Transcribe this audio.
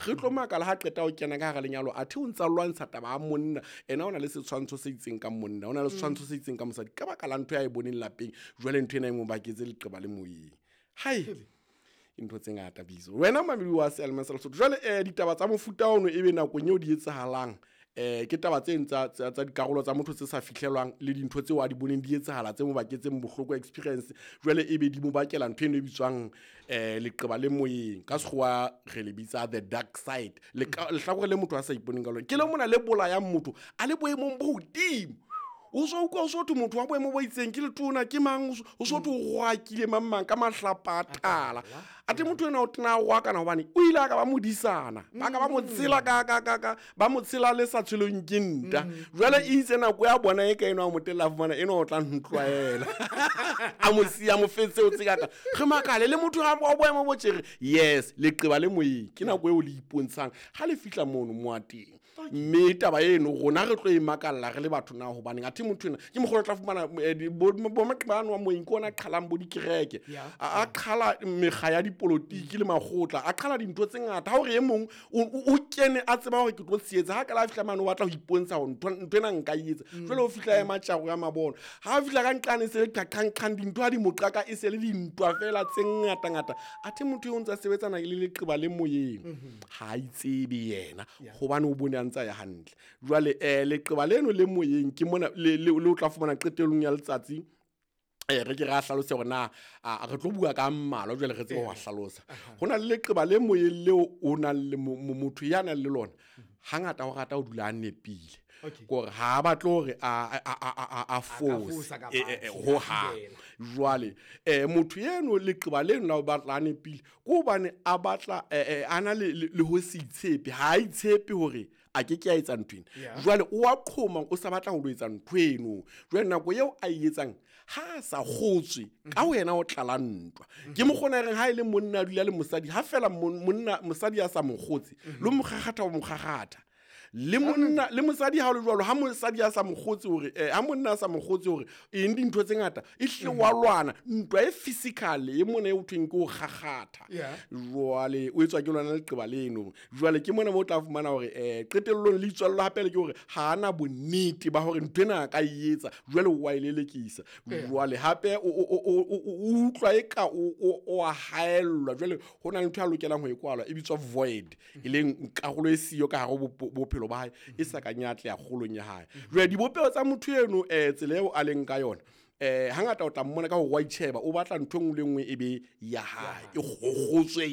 Re tlo makala ha qeta ho kena ka hara lenyalo, athe o ntsa lwantsha taba ya monna. Ena o na le setshwantsho se itseng ka monna, o na le setshwantsho se itseng ka mosadi, ka baka la ntho ya e boneng lapeng. Jwale ntho ena e mo baketse leqeba le moyeng. Hai, ntho tse ngata biso wena mamedi wa seyalemoya sa Lesotho. Jwale ditaba tsa mofuta ono ebe nakong eo di etsahalang, ke taba tse tsa dikarolo tsa motho tse sa fihlelwang le dintho tseo a di boneng di etsahala tse mo baketseng bohloko, experience. Jwale ebe di mo bakela ntho eno e bitswang leqeba le moyeng, ka sekgowa re le bitsa the dark side. Lehlakore le motho a sa iponeng ka lona, ke le mona le bolayang motho a le boemong bo hodimo. O so utlwa o so thwe motho wa boemo bo itseng ke letona, ke mang, o so thwe o roakile mang mang ka mahlapa a tala, ate motho ena o tena a roakana hobane o ile a ka ba modisana, ba ka ba mo tshela ka ba mo tshela le sa tshelong ke nta. Jwale e itse nako ya bona e ka eno a mo tella, fumana eno o tla ntlwaela, a mo siya, mo fetse o tsekaka. Re makale le motho wa boemo bo tjere. Yes, leqeba le moyeng ke nako eo le ipontshang ha le fihla mono mo a teng. Mme taba eno rona re tlo e makalla re le batho na hobaneng athe motho ena ke mokgolo tla fumana bo maqeba ano a moyeng ke ona a qhalang bo dikereke, a qhala mekga ya dipolotiki le makgotla, a qhala dintho tse ngata. Ha hore e mong o kene a tseba hore ke tlo tshehetsa, ha ka la fihla mane o batla ho ipontsha hore ntho ena nka e etsa. Jwale o fihla ema tjaro ya mabona, ha a fihla ka nqane se le qaqanqang, dintho ha di mo qaka, e se le dintwa fela tse ngata ngata. Athe motho eo o ntse a sebetsana le leqeba le moyeng, ha a itsebe yena hobane o bone a ntse a ya hantle. Jwale leqeba leno le moyeng ke mona le o tla fumana qetellong ya letsatsi. Re ke ra hlalose hore na re tlo bua ka mmalwa, jwale re tsebe ho hlalosa. Ho na le leqeba le moyeng leo o nang le motho ya nang le lona, hangata o rata ho dula a nepile. Kore ha a batle hore a fose ho hang. Jwale motho eno leqeba leno la ho batla a nepile ke hobane a batla a na le ho se itshepe, ha a itshepe hore a ke ke a etsa ntho ena. Jwale o a qhoma, o sa batla ho lo etsa ntho eno. Jwale nako eo a e etsang ha a sa kgotswe ka wena, o tlala ntwa. Ke mokgona reng ha e le monna a dula le mosadi, ha fela monna mosadi a sa mo kgotse, le mo kgakgatha o mo kgakgatha. Le monna le mosadi ha o le jwalo, ha mosadi a sa mo kgotse hore ha monna a sa mo kgotse hore eng dintho tse ngata, e hle wa lwana ntwa e physical e mona e ho thweng ke ho kgakgatha. Jwale o etswa ke lona leqeba leno. Jwale ke mona mo o tla fumana hore qetellong le itswallo hape le ke hore ha ana bonnete ba hore ntho ena a ka e etsa, jwale o wa e lelekisa. Jwale hape o utlwa e ka o a haellwa. Jwale ho na le ntho a lokelang ho e kwalwa e bitswa void, e leng karolo e siyo ka hare ho bophelo ba hae, e sa kang ya atleha kgolong ya hae. Jwale dibopeho tsa motho eno, tsela eo a leng ka yona, hangata o tla mmona ka hore wa itjheba, o batla ntho e nngwe le nngwe e be ya hae, e kgotswe